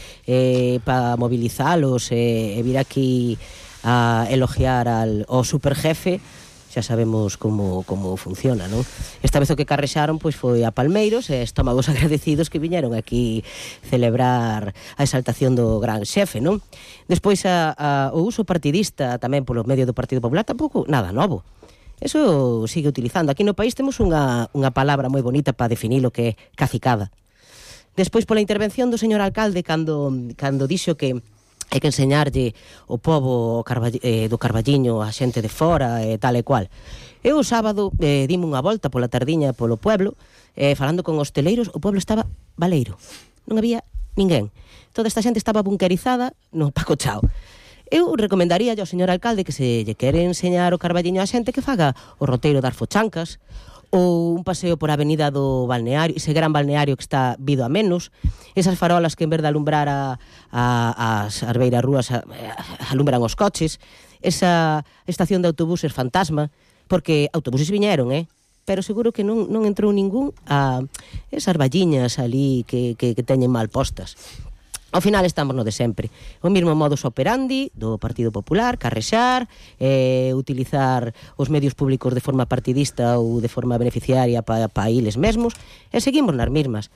para movilizalos e vir aquí a elogiar ao superjefe, xa sabemos como funciona, non? Esta vez o que carrexaron pois foi a Palmeiros e estómagos agradecidos que viñeron aquí celebrar a exaltación do gran xefe, non? Despois o uso partidista tamén polo medio do Partido Popular tampouco nada novo. Eso sigue utilizando. Aquí no país temos unha palabra moi bonita para definir o que é cacicada. Despois pola intervención do señor alcalde cando dixo que hai que enseñarlle o pobo do Carballiño a xente de fora e tal e cual. Eu o sábado dime unha volta pola tardiña polo pueblo, falando con hosteleiros, o pueblo estaba baleiro. Non había ninguén. Toda esta xente estaba bunkerizada no Paco Chao. Eu recomendaría ao señor alcalde que se lle quere enseñar o Carballiño a xente que faga o roteiro das Fochancas ou un paseo por a avenida do balneario, ese gran balneario que está vido a menos, esas farolas que en vez de alumbrar as arbeiras rúas alumbran os coches, esa estación de autobuses fantasma, porque autobuses viñeron, pero seguro que non entrou ningún a esas valliñas ali que teñen mal postas. Ao final estamos no de sempre. O mesmo modus operandi do Partido Popular, carrexar, utilizar os medios públicos de forma partidista ou de forma beneficiaria para eles mesmos, e seguimos nas mesmas.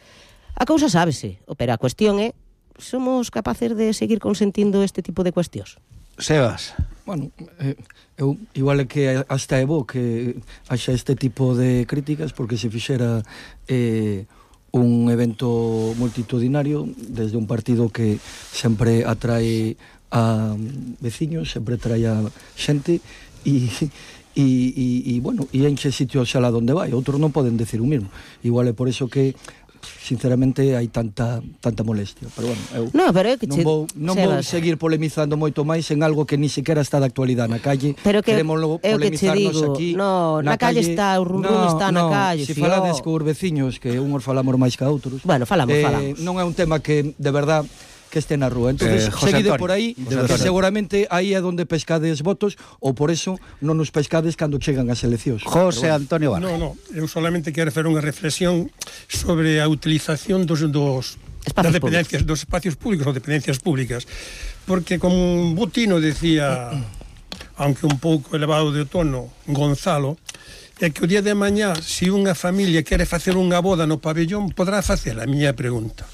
A cousa sábese, pero a cuestión é, somos capaces de seguir consentindo este tipo de cuestións? Sebas. Bueno, eu igual é que hasta é bo que haxa este tipo de críticas, porque se fixera un evento multitudinario desde un partido que sempre atrae a veciños, sempre atrae a xente e bueno, e enche sitios xa lá donde vai. Outros non poden decir o mesmo. Igual é por eso que sinceramente hai tanta molestia, pero bueno, eu non vou seguir polemizando moito máis en algo que ni sequera está de actualidade na calle. Pero que queremos polemizarnos aquí. No, na calle está, o run está na calle. Se falades cos veciños, que unhos falamos máis que outros. Bueno, falamos. Non é un tema que, de verdad, que este na rúa. Entonces, seguide por aí, que seguramente aí é onde pescades votos, ou por eso non nos pescades cando chegan as eleccións. José Antonio Barra. No, eu solamente quero facer unha reflexión sobre a utilización das dependencias, dos espacios públicos ou dependencias públicas, porque como Botino decía, aunque un pouco elevado de tono, Gonzalo, é que o día de mañá, se unha familia quere facer unha boda no pabellón, podrá facela, a miña pregunta.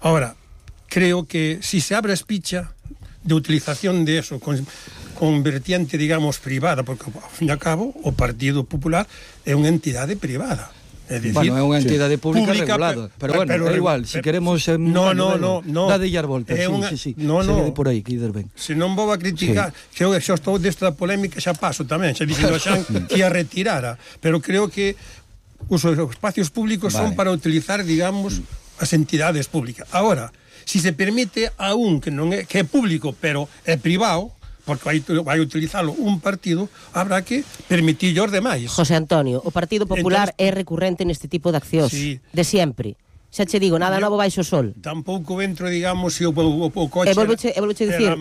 Ahora, creo que si se abre a espicha de utilización de eso con vertiente, digamos, privada, porque ao fin e ao cabo o Partido Popular é unha entidade privada. É dicir, é unha entidade pública regulada, pero é igual, se queremos dadelle as voltas, por aí, que ides ben. Se non vou a criticar, que eu xa estou desta polémica, xa paso tamén, xa dixen Xan que a retirara, pero creo que os espacios públicos son para utilizar, digamos, as entidades públicas. Agora, si se permite a un que é público, pero é privado, porque vai utilizalo un partido, habrá que permitir aos demais. José Antonio, o Partido Popular é recurrente neste tipo de accións, de sempre. Xa che digo, nada novo baixo o sol. Tampouco entro, digamos, se o coche e volveche dicir,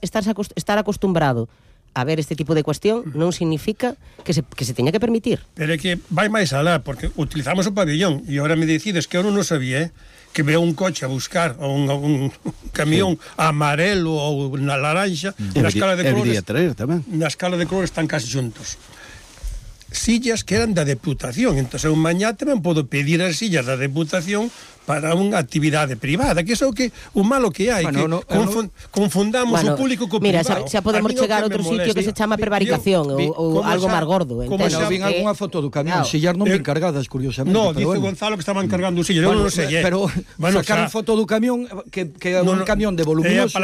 estar acostumbrado a ver este tipo de cuestión non significa que se teña que permitir. Pero é que vai máis alá, porque utilizamos o pabellón, e agora me decides que eu non o sabía, que veo un coche a buscar un camión amarelo ou na laranxa, na escala de colores están casi juntos. Sillas que eran da Deputación, entón eu mañá tamén podo pedir as sillas da Deputación para unha actividade privada, que é o malo que hai, que confundamos o público co privado. Mira, xa podemos chegar a outro sitio que se chama prevaricación ou algo máis gordo. Vin algunha foto do camión, sillas non ben cargadas, curiosamente. No, dice Gonzalo que estaban cargando sillas, eu non sei. Pero sacaron foto do camión, que é un camión de voluminoso,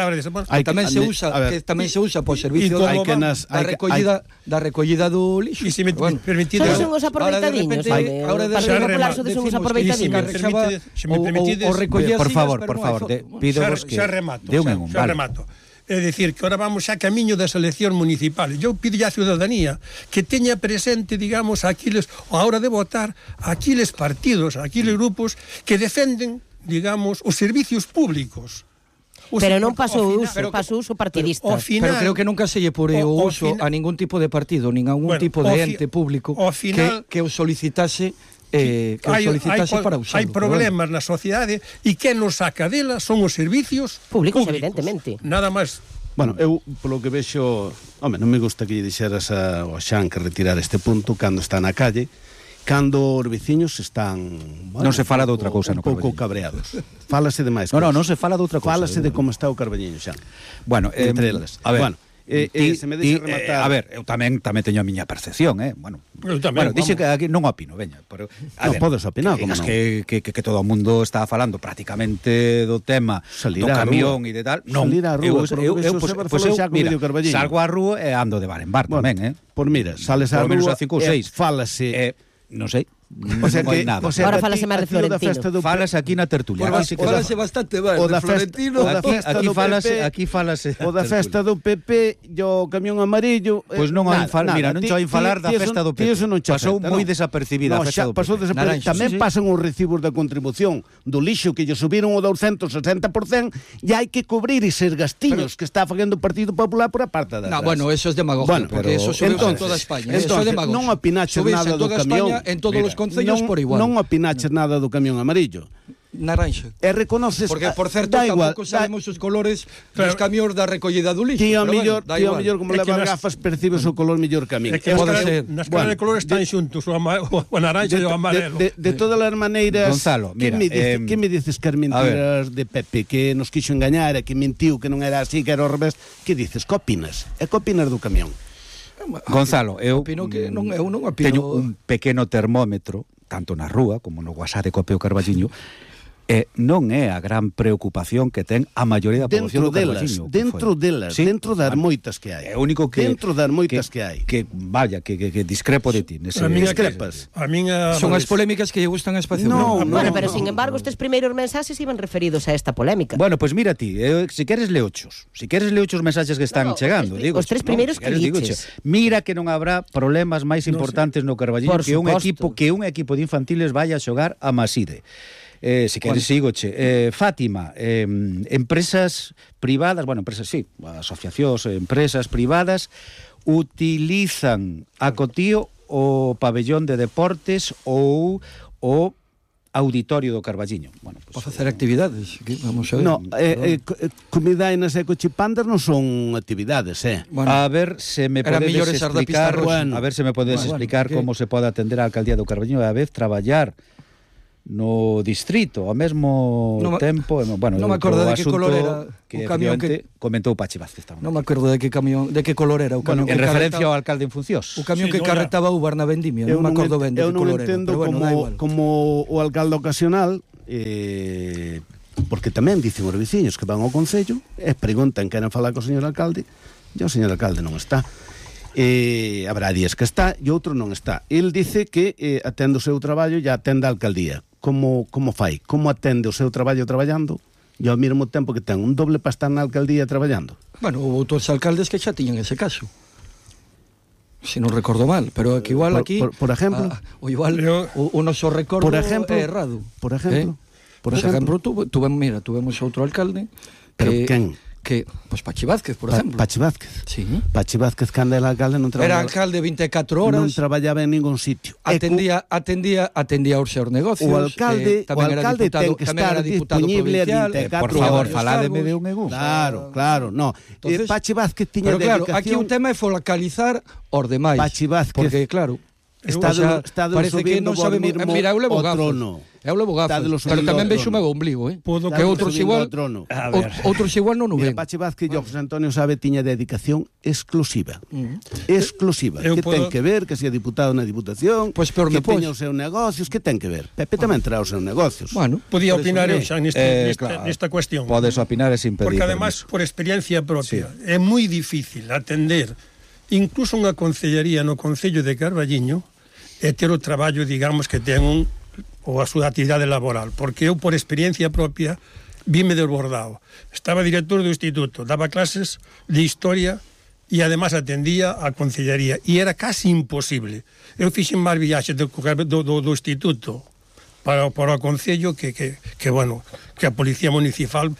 tamén se usa por servicio da recollida do lixo. Son os aproveitadiños. O Partido Popular son os aproveitadiños. Por favor, pido que xa remato. É dicir, que ahora vamos xa camiño das eleccións municipales. Eu pido á ciudadanía que teña presente, digamos, a hora de votar, aquiles partidos, aquiles grupos que defenden, digamos, os servicios públicos. Pero non pasou uso partidista. Pero creo que nunca se lle pore o uso a ningún tipo de partido, nin a ningún tipo de ente público que o solicitase para usarlo. Hai problemas na sociedade e quen nos saca dela son os servicios públicos, evidentemente. Nada máis. Bueno, eu, polo que vexo, non me gusta que lle dixeras ao Xan que retirar este punto cando está na calle, cando os veciños están non se fala de outra cousa un pouco cabreados. Fálase de máis cousas. Non se fala de outra cousa. Fálase de como está o Carballiño, Xan. Bueno, entre elas. A ver, se me deixa rematar... a ver, eu tamén teño a miña percepción, Bueno, dixe que aquí non opino, veña, pero non podes opinar, como non. Que todo o mundo está falando prácticamente do tema do camión e de tal. Non, eu salgo á rúa e ando de bar en bar tamén, Por mira, sales á rúa e fálase... Non sei. O sea que agora falase máis de Florentino. Falas aquí na tertulia. Falase bastante ben de Florentino. Aquí falase. O da festa do PP e o camión amarillo. Pois non hai falar, mira, non che vai falar da festa do PP. Pasou moi desapercibida a festa do PP. Tamén pasan os recibos da contribución do lixo que lle subiron o 260% e hai que cubrir eses gastiños que está facendo o Partido Popular por a parte da. Bueno, eso é demagogia, porque eso sube en toda España. Eso é demagogia. Non opinaches nada do camión. En todos os concellos por igual. Non opinaches nada do camión amarillo. Naranxa. E reconoces... Porque, por certo, tampouco sabemos os colores dos camións da recollida do lixo. Ti ao mellor, como levar gafas, percibes o color mellor que a mí. Nas caras de colores están xuntos, o naranxa e o amarelo. De todas as maneiras... Gonzalo, mira... Que me dices que as mentiras de Pepe, que nos quixo engañar, que mentiu, que non era así, que era ao revés? Que dices? Que opinas? E que opinas do camión? Gonzalo, eu non opino. Teño un pequeno termómetro tanto na rúa como no WhatsApp de Copeo Carballiño, non é a gran preocupación que ten a maioría da poboación do Carballiño. Dentro das moitas que hai. É o único que dentro das moitas que hai. Que vaya, que discrepo de ti. Discrepas. Son as polémicas que lle gustan a Espacio Bravo. Bueno, pero sin embargo, estes primeiros mensaxes iban referidos a esta polémica. Bueno, pues mira ti, se queres leochos. Si queres leochos mensaxes que están chegando, digo. Os tres primeiros que liches. Mira que non habrá problemas máis importantes no Carballiño que un equipo de infantiles vaya a xogar a Maside. Si queres sigoche, Fátima, empresas privadas, asociacións, empresas privadas utilizan a cotío o pabellón de deportes ou o auditorio do Carballiño. Para facer actividades, vamos a ver. No, comidainas e cochipandas non son actividades, A ver se me podedes explicar, explicar como se pode atender a alcaldía do Carballiño e a vez traballar no distrito ao mesmo tempo, non me acordo de que color era o camión que comentou Pachi Vázquez. Non me acordo de que color era o camión en referencia ao alcalde en funcións. O camión que carretaba o na Vendimia, non me acordo ben de que color era. Eu non entendo como o alcalde ocasional porque tamén dicen os veciños que van ao concello e preguntan, queren falar co señor alcalde, e o señor alcalde non está. Habrá días que está e outro non está. El dice que atende o seu traballo e atende a alcaldía. Como fai? Como atende o seu traballo traballando e ao mesmo tempo que ten un doble para estar na alcaldía traballando? Bueno, houve outros alcaldes que xa tiñan ese caso, se non recordo mal, pero que igual aquí por exemplo o igual o noso recordo é errado. Por exemplo tuvemos outro alcalde. Pero quen? Que, pues Pachi Vázquez, por exemplo. Pachi Vázquez. Sí. Pachi Vázquez, cando era alcalde, non traballaba. Era alcalde 24 horas. Non traballaba en ningún sitio. Atendía os seus negocios. O alcalde ten que estar disponible a 24 por favor, faládeme de un egún. Claro, no. Entonces, Pachi Vázquez tiña dedicación. Pero claro, aquí o tema é focalizar os demais. Pachi Vázquez. Porque, claro, parece que non sabemos. Mira, eu levo gafos. Pero tamén vexo o meu ombligo, que outros igual non o ven. Pachi Vázquez e José Antonio Sabe tiña dedicación exclusiva. Exclusiva. Que ten que ver, que se é diputado na Diputación, que teña os seus negocios, que ten que ver. Pepe tamén trae os seus negocios. Bueno, podía opinar eu xa nesta cuestión. Podes opinar e sin pedir. Porque además, por experiencia propia, é moi difícil atender incluso unha concellería no Concello de Carballiño e ter o traballo, digamos, que ten ou a súa actividade laboral, porque eu, por experiencia propia, vime desbordado. Estaba director do instituto, daba clases de historia e además atendía a concellería, e era casi imposible. Eu fixen máis viaxes do instituto para o concello que a policía municipal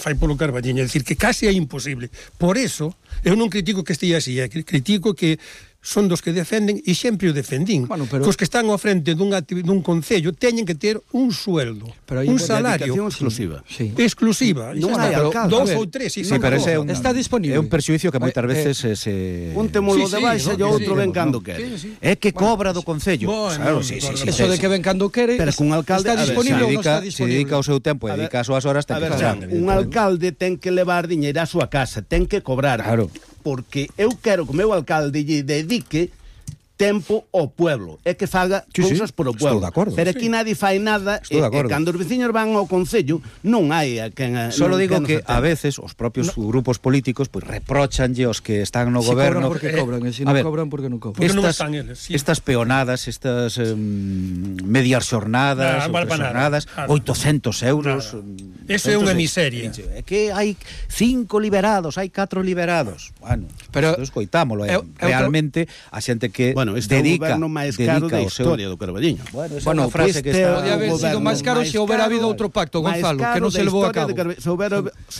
fai polo Carballiño, é dicir, que casi é imposible. Por eso, eu non critico que estea así, critico que son dos que defenden e sempre o defendín. Os que están ao frente dun concello teñen que ter un sueldo, un salario exclusiva. Non hai alcalde. 2 ou 3, está disponible. É un perxuízo que moitas veces un temolo de baixa e outro ven cando quere. É que cobra do concello. Claro, eso de que ven cando quere. Pero cun alcalde está disponible ou non está disponible. Se dedica o seu tempo e dedica as súas horas, ten que cobrar. Un alcalde ten que levar diñeiro á súa casa, ten que cobrar. Claro. Porque eu quero que o meu alcalde lle dedique tempo ao pueblo, é que faga cousas por o pueblo. Pero aquí nadie fai nada e cando os veciños van ao concello non hai a quen. Solo digo que a veces os propios grupos políticos pois reprochanlle os que están no goberno porque cobran, e se non cobran porque non cobran. Estas peonadas, estas medias xornadas, 800 euros. Eso é unha miseria. É que hai 5 liberados, hai 4 liberados. Bueno, pero escoitámolo, realmente a xente que dedica o goberno máis caro da historia do Carballiño. Bueno, frase que está podía haber sido máis caro se houbera habido outro pacto, Gonzalo, que non se levou a cabo. Se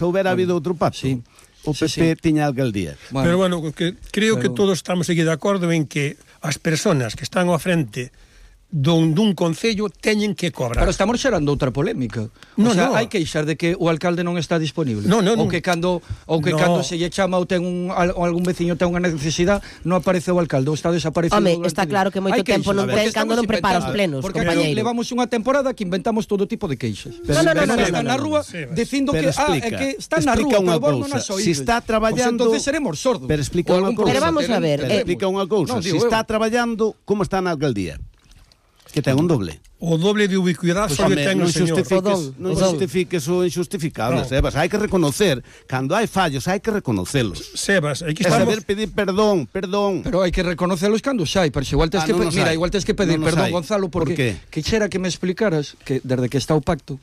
houbera habido outro pacto. O PP tiña alcaldía. Pero bueno, creo que todos estamos aquí de acordo en que as persoas que están ao frente dun concello teñen que cobrar. Pero estamos xerando outra polémica. Hai queixar de que o alcalde non está disponible. Ou que cando se lle chama ou ten algún veciño ten unha necesidade, non aparece o alcalde, ou está desaparecido. Home, está claro que moito tempo non ten cando non prepara os plenos, compañeiro. Levamos unha temporada que inventamos todo tipo de queixas. Están na rúa dicindo que que están na rúa, pero vos non as oídes. Si está traballando, entonces seremos sordos. Pero explica unha cousa. Pero vamos a ver, explica unha cousa. Si está traballando, como está na alcaldía? Que ten un doble. O doble de ubicuidade só ten o señor. Non justifiques o injustificable, Sebas. Hai que reconocer, cando hai fallos, hai que reconocelos. Sebas, aquí estamos... saber pedir perdón. Pero hai que reconocelos cando xa hai, pero igual tes que igual tes que pedir perdón, Gonzalo, porque quixera que me explicaras que desde que está o pacto,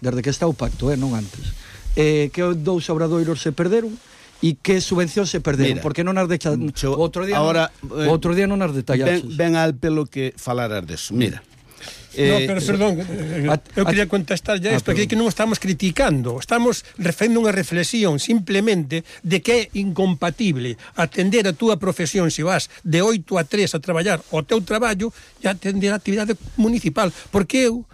non antes. Que dous obradoiros se perderon e que subvencións se perderon, porque non as outro día non as detallaches. Ben al pelo que falaras deso. Mira, pero perdón, eu quería contestar ya isto, que non estamos criticando, estamos facendo unha reflexión simplemente de que é incompatible atender a túa profesión se vas de 8 a 3 a traballar o teu traballo e atender a actividade municipal, porque eu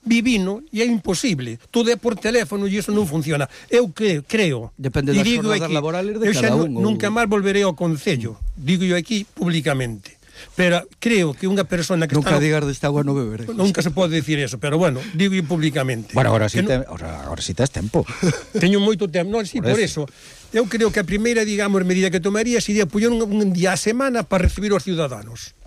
vivino e é imposible, todo é por teléfono e iso non funciona. Eu creo, depende das jornadas laborales de cada un. Nunca máis volveré ao Concello, digo eu aquí públicamente. Pero creo que unha persona que nunca digas desta agua non beberé. Nunca se pode decir eso, pero bueno, digo públicamente. Bueno, agora si tes tempo. Teño moito tempo, non, si, por eso. Eu creo que a primeira, digamos, medida que tomaría sería poñer un día a semana para recibir os ciudadanos.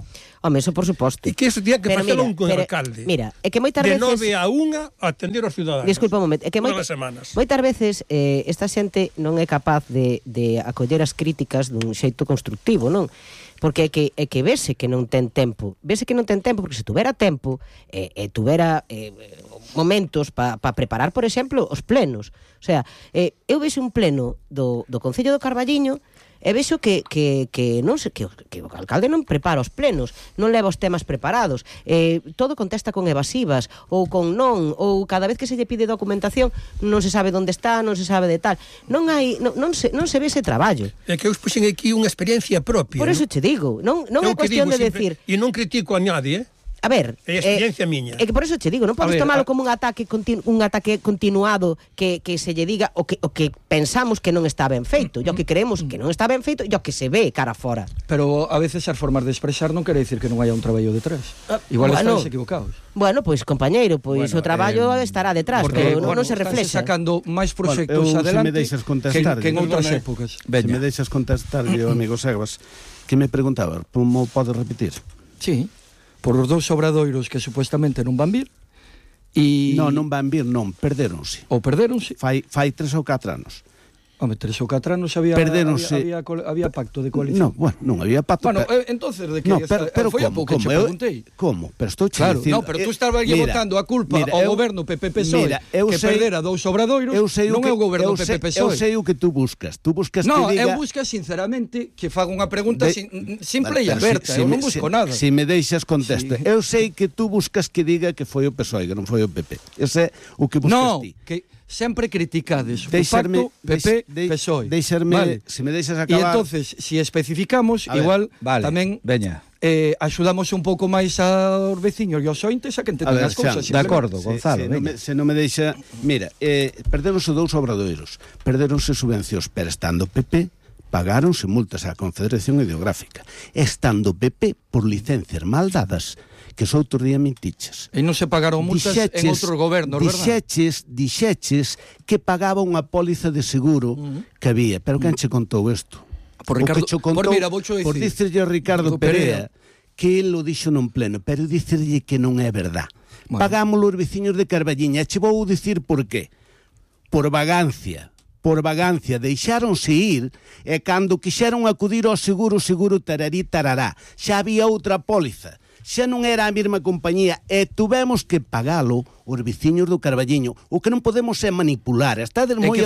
Home, eso por suposto. E que eso tiña que facelo un alcalde. Mira, é que moitas veces... De 9 a 1 a atender aos ciudadanos. Disculpa un momento. É que moitas veces esta xente non é capaz de acoller as críticas dun xeito constructivo, non? Porque é que vese que non ten tempo. Vese que non ten tempo, porque se tuvera tempo, tuvera momentos para preparar, por exemplo, os plenos. O sea, eu vexo un pleno do Concello do Carballiño e vexo que non sei, que o alcalde non prepara os plenos, non leva os temas preparados, todo contesta con evasivas ou con non, ou cada vez que se lle pide documentación non se sabe onde está, non se sabe de tal. Non se ve ese traballo. É que eu puxen aquí unha experiencia propia. Por eso te digo, non é cuestión de decir... E non critico a nadie, A ver, é experiencia miña. É que por eso te digo, non podes tomalo como un ataque continuado que se lle diga o que pensamos que non está ben feito, e o que creemos que non está ben feito, e o que se ve cara fora. Pero a veces as formas de expresar non quere dicir que non haya un traballo detrás. Igual estáis equivocados. Bueno, pois compañeiro, pois o traballo estará detrás, pero non se reflexa. Sacando máis proxectos adelante que en outras épocas. Se me deixas contestar, amigo Sebas, que me preguntaba, como podes repetir? Sí. Por os dous obradoiros que supuestamente non van vir e... Non van vir, non, perdéronse. Ou perdéronse? Fai 3 ou 4 anos. Home, 3 ou 4 anos había pacto de coalición. Non había pacto. Bueno, entonces de que foi a pouco che preguntei. Como? Pero estou che No, dicindo... pero tú estabas votando a culpa ao goberno PP-PSOE que perdera dous obradoiros, non é o goberno PP-PSOE. Eu sei o que tú buscas. Tú buscas que diga... Non, eu busco sinceramente que faga unha pregunta simple e aberta. Eu non busco nada. Se me deixas contesta. Eu sei que tú buscas que diga que foi o PSOE, que non foi o PP. Ese é o que buscas ti. Non, que sempre criticades o pacto PP-PSOE. Se me deixas acabar... E entonces, se especificamos, igual tamén axudamos un pouco máis aos veciños e aos ointes a que entenden as cousas. De acordo, Gonzalo. Se non me deixa... Mira, perderonse dous obradoiros, perderonse subvencións, pero estando PP, pagáronse multas á Confederación Hidrográfica. Estando PP, por licencias mal dadas, que os outro día mentiches. E non se pagaron multas en outros gobernos, verdad? Dixeches que pagaba unha póliza de seguro que había. Pero quen che contou isto? Por dicerlle a Ricardo Perea que el lo dixo nun pleno, pero dicerlle que non é verdad. Pagámoslo os veciños de Carballiña. Che vou dicir por qué. Por vagancia, deixáronse ir e cando quixeron acudir ao seguro tararí tarará. Xa había outra póliza. Xa non era a mesma compañía e tuvemos que pagalo os veciños do Carballiño. O que non podemos é manipular. Estades moi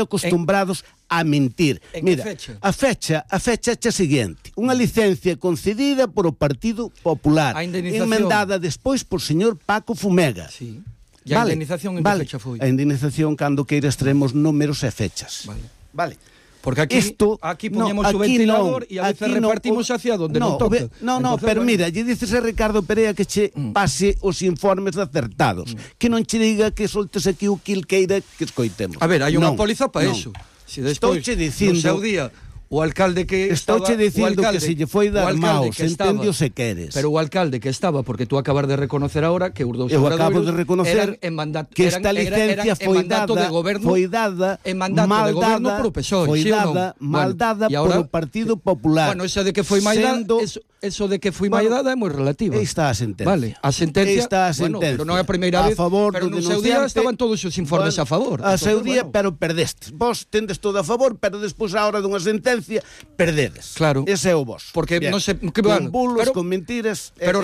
acostumbrados a mentir. Mira, a fecha é a seguinte. Unha licencia concedida por o Partido Popular, emendada despois por señor Paco Fumega. Sí. E a indemnización en que fecha foi? A indemnización cando queira extremos números e fechas. Vale. Porque aquí poñemos o ventilador e a veces repartimos hacia donde non toca. Pero mira, lle dices a Ricardo Perea que che pase os informes acertados, que non che diga que soltes aquí o quilqueira que escoitemos. A ver, hai unha póliza para eso. Se despois, no seu día, o alcalde que estaba... Estouche dicindo que se lle foi dar maos, entendio se queres. Pero o alcalde que estaba, porque tú acabas de reconocer ahora que os dous eu acabo de reconocer que esta licencia foi dada mal dada por o Partido Popular. Bueno, esa de que foi mal dada, eso de que fui maior é moi relativa. Está a sentencia. Vale, a sentencia, está a sentencia. Pero non é a primeira vez, pero no seu día estaban todos os informes a favor. A seu día, pero perdestes. Vos tendes todo a favor, pero despois a hora dunha sentencia perdedes. Claro. Ese é o vos. Porque non sei, con bulos, con mentiras, pero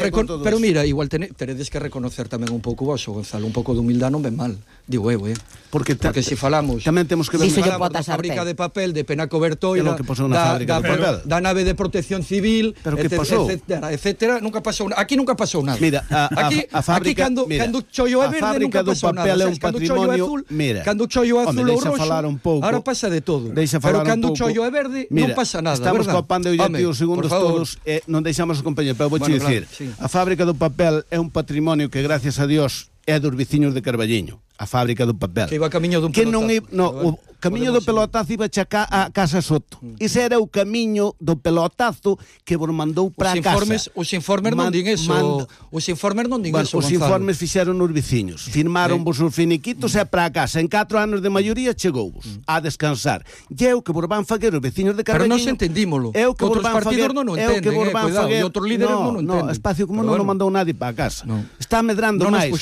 mira, igual teredes que reconocer tamén un pouco vos, Gonzalo, un pouco de humildade non ven mal. Digo porque se falamos tamén temos que ver da fábrica de papel de Penaco Bertoira, da nave de protección civil, etcétera, nunca pasou nada. Aquí nunca pasou nada. Mira, a fábrica, cando o chollo é verde nunca pasou nada. É un patrimonio, cando o chollo é azul ou roxo, ahora pasa de todo. Pero cando o chollo é verde non pasa nada, estamos copando hoxe aquí os segundos todos, non deixamos os compañeros, pero vou dicir, a fábrica do papel é un patrimonio que gracias a Dios é dos veciños de Carballiño, a fábrica do papel. Que iba camiño dun pelotazo. O camiño do pelotazo iba checar a Casa Soto. Ese era o camiño do pelotazo que vos mandou para a casa. Os informes non din eso. Os informes non din eso, Os informes fixeron os veciños. Firmaron vos os finiquitos e para a casa. En 4 anos de maioría chegouvos a descansar. E é o que vos van faguer os veciños de Carballiño. Pero non se entendímolo. Outros partidos non o entenden, cuidado. E outros líderes non o entenden. No, Espacio Común non o mandou nadie para a casa. Está medrando máis.